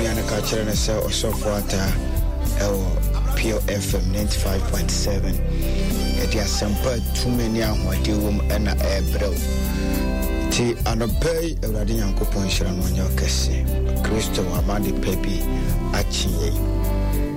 nua no ka kyerɛ no sɛ ɔsɔfo ataa ɛwɔ Pure FM 95.7. Yɛde asɛmpa tumi ne ahoɔden wɔ mu ɛna ɛrebrɛ wo. Nti anɔpa yi Awurade Nyankopɔn nhyira no ɔnyɛ ɔkɛse. Kristo ama de pɛ bi akye yɛn.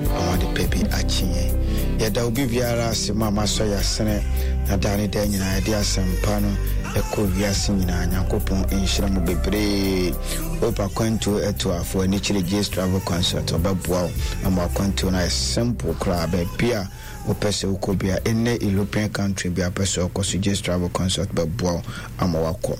Ama de pɛ bi akye yɛn. Yɛda obi biara ase ma masɔ yɛasene na daa ne daa nyinaa yɛde asɛmpa no ɛkɔ wiase nyinaa. Nyankopɔn nhyira mo bebree. Hope akwantuo atuafo ani kyerɛ Jace Travel Consult ɔbɛboa wo ama akwantuo no ayɛ simple koraa baabi a wopɛ sɛ wokɔ bia ɛnɛ European country bi a wopɛ sɛ wokɔ so Jace Travel Consult bɛboa wo ama wakɔ.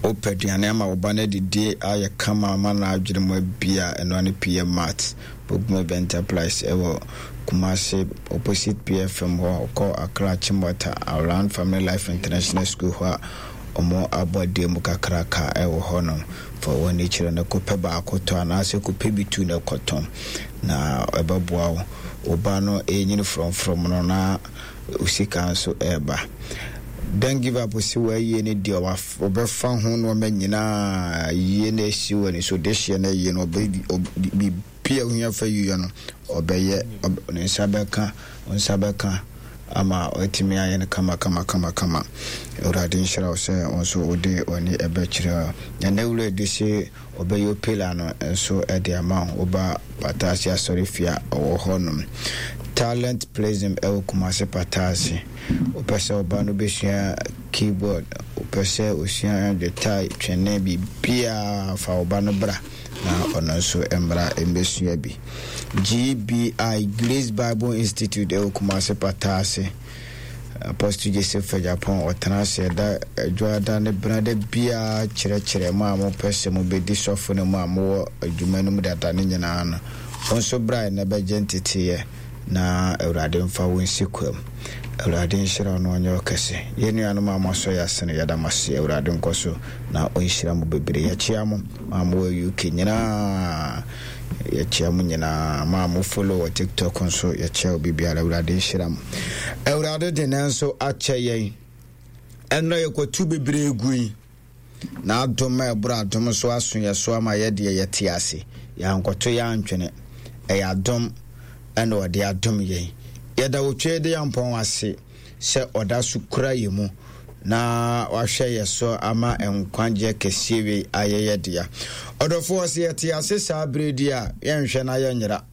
Wopɛ aduane ama wo ba no adidie ayɛ kama ama no adwene mu abia ɛno ne PM Mart Bogum Event Enterprise ɛwɔ Kumasi opposite PFM hɔ kɔ Accra Achimota around Family Life International School hɔ a Ɔmo abɔdeɛ mu kakraka ɛwɔ hɔ nom, fa w'ani kyerɛ no kɔpɛ baako tɔ anaasɛ kɔpɛ bi tu na kɔtɔn na ɛbɛboa wo. Wo ba no ɛrenyini frɔmfrɔm no na wo sika nso ɛreba. Don't give up se w'ayie no deɛ ɔbɛfa ho nnoɔma nyinaa yie na asi w'ani so dehyeɛ no ayie no biribi a wohia fa yiyɔ no ɔbɛyɛ ne nsa bɛka wo nsa bɛka ama watumi ayɛ no kama kama kama kama. Awurade nhyira wo sɛ wo nso wode w'ani ɛbɛkyerɛ na n'awura adi se ɔbɛyɛ opela no nso de ama wo. Woba Pataase asɔrefie a ɔwɔ hɔ nom. Talent Prism ɛwɔ Kumase Pataase. Wopɛ sɛ ɔba no bɛsua keyboard, wopɛ sɛ osua guitar, twene, biribiara fa wo ba no bra na ɔno nso mmra mmɛsua bi. GBI, Grace Bible Institute ɛwɔ Kumase Pataase. Apostle Joseph Agyapong ɔtena ase ɛda adwoada ne benada biara kyerɛkyerɛ mo a mopɛ sɛ mobɛdi sɔfo no mu a mowɔ adwuma no mu dada no nyinaa no. Wo nso bra ɛnɛ bɛgye nteteeɛ na Awurade mfa wo nsi kwam. Awurade nhyira wo na ɔnyɛ wo kɛse. Yɛn nuanom a moasɔ yɛn ase no, yɛda mo ase. Awurade nkɔ so na ɔnhyira mo bebree. Yɛkyea mo a mowɔ UK nyinaa. Yɛkyea mo nyinaa. Mo a mo follow wɔ TikTok nso, yɛkyea obi biara. Awurade nhyira mo. Awurade de ne nso akyɛ yɛn. Ɛnna yɛkɔtu bebree gui. N'adom a ɛboro adom so aso yɛn so ama yɛ deɛ yɛte ase. Yɛankɔto yɛn antwene. Ɛyɛ adom ɛna ɔde adom yɛn. Yɛda Otwedeampɔn ase sɛ ɔda so kura yɛn mu na wahwɛ yɛ so ama nkwagyeɛ kɛseɛ wei ayɛ yɛ dea. Ɔdɔfoɔ, sɛ yɛte ase saa berɛ di a, yɛnhwɛ na yɛnyera.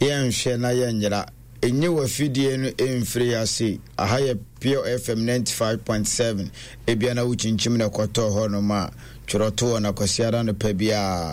Yɛnhwɛ na yɛnyera. Enye w'afidie no mfiri ha sei. Aha yɛ Pure FM 95.7. Ebia na wokyinkyim na ɛkɔtɔɔ hɔnom a, twerɛ to hɔ na Kwasiada anɔpa biara.